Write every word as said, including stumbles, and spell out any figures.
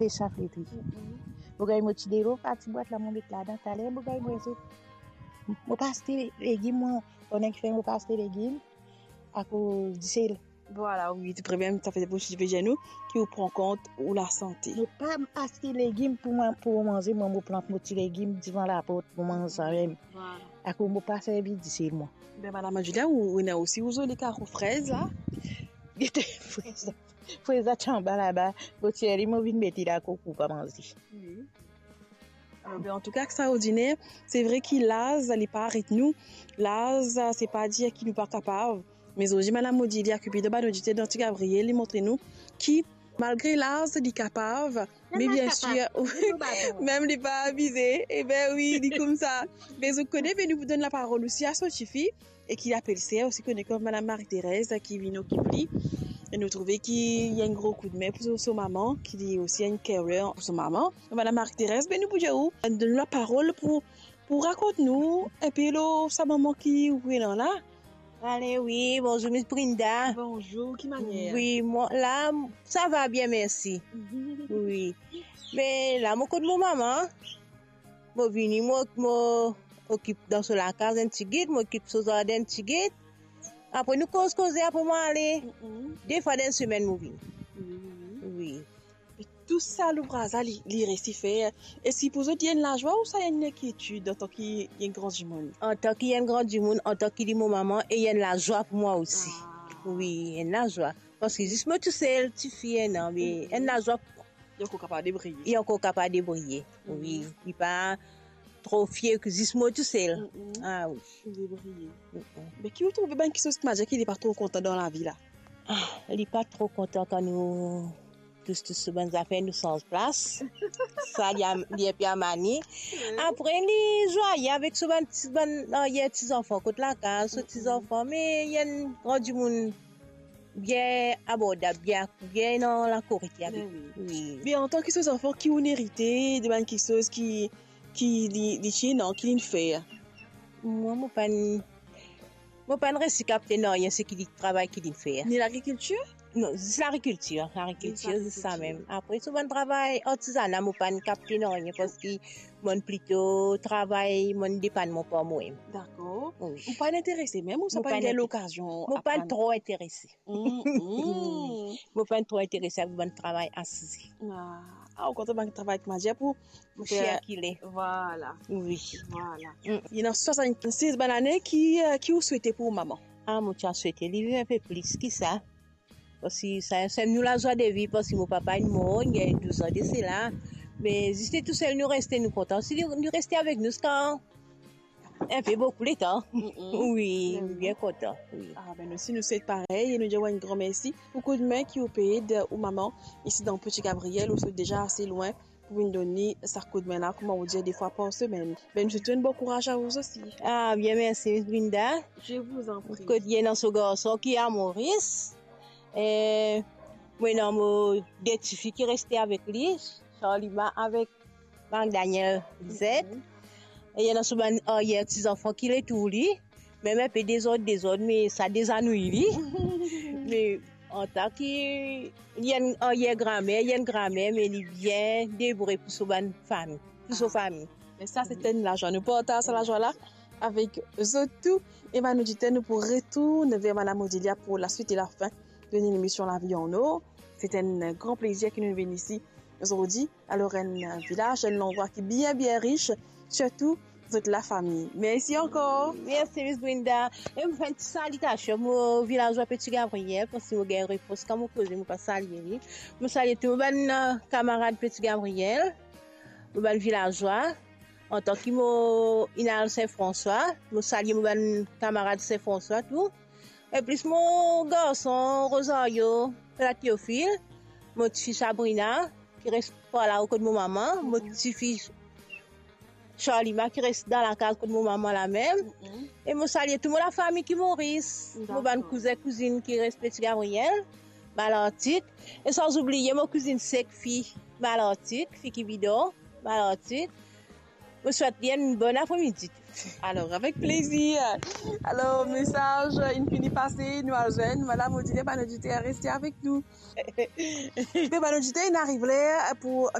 Pe sa fritri. Mo gagn mo ti delo, pa ti bwat la, mo met ladan taler, mo gagn mo zet. Mo pa aste legim, mwa, pandan ki fer, mo pa aste legim, akoz disel. Vwala, wi, to problem, sa fer pou ti pe dir nou ki ou pran kont ou lasante. Mo pa aste legim pou mwa, pou manze, mwa, mo plant mo ti legim divan laport, mo manz sa mem. Vwala. Akoz mo pa servi disel, mwa. Be, madam Julia, ou, ou ena osi ou zoli karo frez la. Gete frez la. Frez la ti anba laba, mo tir li, mo vinn met li la, koukou pa manze. Wi. Alor, be, antouka, ekstraordiner. Se vre ki laz, li pa aret nou. Laz, se pa dir ki nou pa kapav. Me zordi, madam Odilia Cupido, bann oditer dan Ti Gabriel, li montre nou ki, malgre laz, li kapav, me bien sir, mem li pa abize. E be wi, li koumsa. Me zot kone, be nou pou donn laparol osi a so tifi, e ki apel ser, osi kone kom madam Marie-Thérèse, ki vinn okip li. E nou trouve ki li enn gro koudme pou so, so mama, ki li osi enn carer pou so mama. Madam Marie-Thérèse, be nou pou dir ou, donn nou laparol pou, pou rakont nou enpe lor sa mama ki ou ena la. Ale, wi, bonzour, Miss Brinda. Bonzour, ki manier? Wi, mwa, la, sa va bien, mersi. Wi. Me la, mo kot mo mama. Mo vini, mo, mo okip dan so lakaz enn tigit, mo okip so zarden enn tigit. Apre nou koz koze, apre mo ale. Mm-mm. De fwa dan semenn mo vini. Wi, wi, wi. Wi. E tou sa louvraz la, li, li resi fer. Eski pou zot li enn lazwa ouswa enn lenkietid antan ki enn gran dimoun? Antan ki enn gran dimoun, antan ki li mo mama, e enn lazwa pou mwa osi. Ah. Wi, enn lazwa. Paski zis mo tousel, tifi ena, me enn lazwa pou mwa. Li ankor kapav debriye. Li ankor kapav debriye, wi. Li pa tro fie ki zis mo tousel. Mm-mm. Ah, wi. Debriye. Mm-mm. Me ki ou trouve bann kiksoz ki manze ki li pa tro kontan dan lavi la? Ah, li pa tro kontan kan nou tous, tous so bann zafer, nou sanz plas. Sa, li a, li enpe amani. Wi. Apre, li zwaye avek so bann ti, bann aryer ti zanfan kot lakaz, so ti zanfan, me li enn gran dimoun bien abordab, bien, bien dan lakorek li avek. Wi. Wi. Me antan ki so zanfan, ki ou erite de bann kiksoz ki, ki li, li ti ena, ki li fer? Mwa, mo pa'nn, mo pa'nn resi kapte nanye seki li travay ki li fer. Ni lagrikiltir? Non, zis lagrikiltir, lagrikiltir, zis sa mem. Apre, so bann travay artizana, mo pa'nn kapte nanye, paski mo'nn plito travay, mo'nn depann mwa par mwa mem. Dakor. Wi. Ou pa'nn interese mem, ou sa pa'nn gagn lokazion? Mo pa'nn tro interese. Mm, mm. Mo pa'nn tro interese avek bann travay asize. Ah, ah, ou kontan bann travay ki manze pou, pou fer sirkile. Vwala. Wi. Vwala. Mm. Ena swasannsis bann lane, ki, eh, ki ou swete pou ou mama? Ah, mo ti a swete li viv enpe plis ki sa. Paski sa, sa nou lazwa de viv, paski mo papa inn mor, li gagn douz an de sela. Me zis li tousel nou reste, nou kontan. Si li, li reste avek nou ziska enpe boukou letan. Mm-mm. Wi, bien kontan, wi. Ah, be, nou osi, nou swet parey, e nou dir ou enn gran mersi pou koudme ki ou pe ed ou mama isi dan Petit Gabriel, ou sot deza ase lwen pou vinn donn li sa koudme la, kouma ou dir, de fwa par semenn. Be, nou swet enn bon kouraz a ou osi. Ah, bien, mersi, Miss Brinda. Je vous en prie. Kot li ena so garson ki a Moris. E, mo ena mo de tifi ki reste avek li, Charlima avek Marc Daniel Lisette. Mhm. E ena so bann aryer ti zanfan ki le tour li, mem enpe dezord, dezord, me sa dezanouy li. Me antan ki li enn aryer gramer, li enn gramer, me li bien debout pou so bann fami, pou so fami. Me sa, se enn lazwa. Nou partaz sa lazwa la avek zot tou. E bann oditer, nou pou retourn ver Madam Odilia pou laswit e lafin de lemision Lavi an Or. Se enn gran plezir ki nou vinn isi zordi. Alor, enn vilaz, enn landrwa ki bien, bien ris, sirtou zot lafami. Mersi ankor. Mersi, Miss Brinda. E mo fer enn ti salitasion mo vilazwa Petit Gabriel, paski mo gagn repros kan mo koze, mo pa salye li. Mo salye tou mo bann, eh, kamarad Petit Gabriel, mo bann vilazwa. Antan ki mo inn al Sin Franswa, mo salye mo bann kamarad Sin Franswa tou. E plis mo garson Rosario, Pla Théophile, mo tifi Sabrina, ki res par lao kot mo mama, mo tifi Charlima, ki res dan lakaz kot mo mama lamem. Mhm. E mo salye tou mo lafami ki Moris, mo bann kouzin, kouzinn ki res Petit Gabriel, Malartik. E san oubliye mo kouzinn sek fi Malartik, fi ki bidon, Malartik. Mo swet li enn bon apremidi. Alor, avek plezir. Alor, mesaz inn fini pase, nou al zwenn. Vwala, mo dir bann oditer, reste avek nou. Me bann oditer, inn ariv ler pou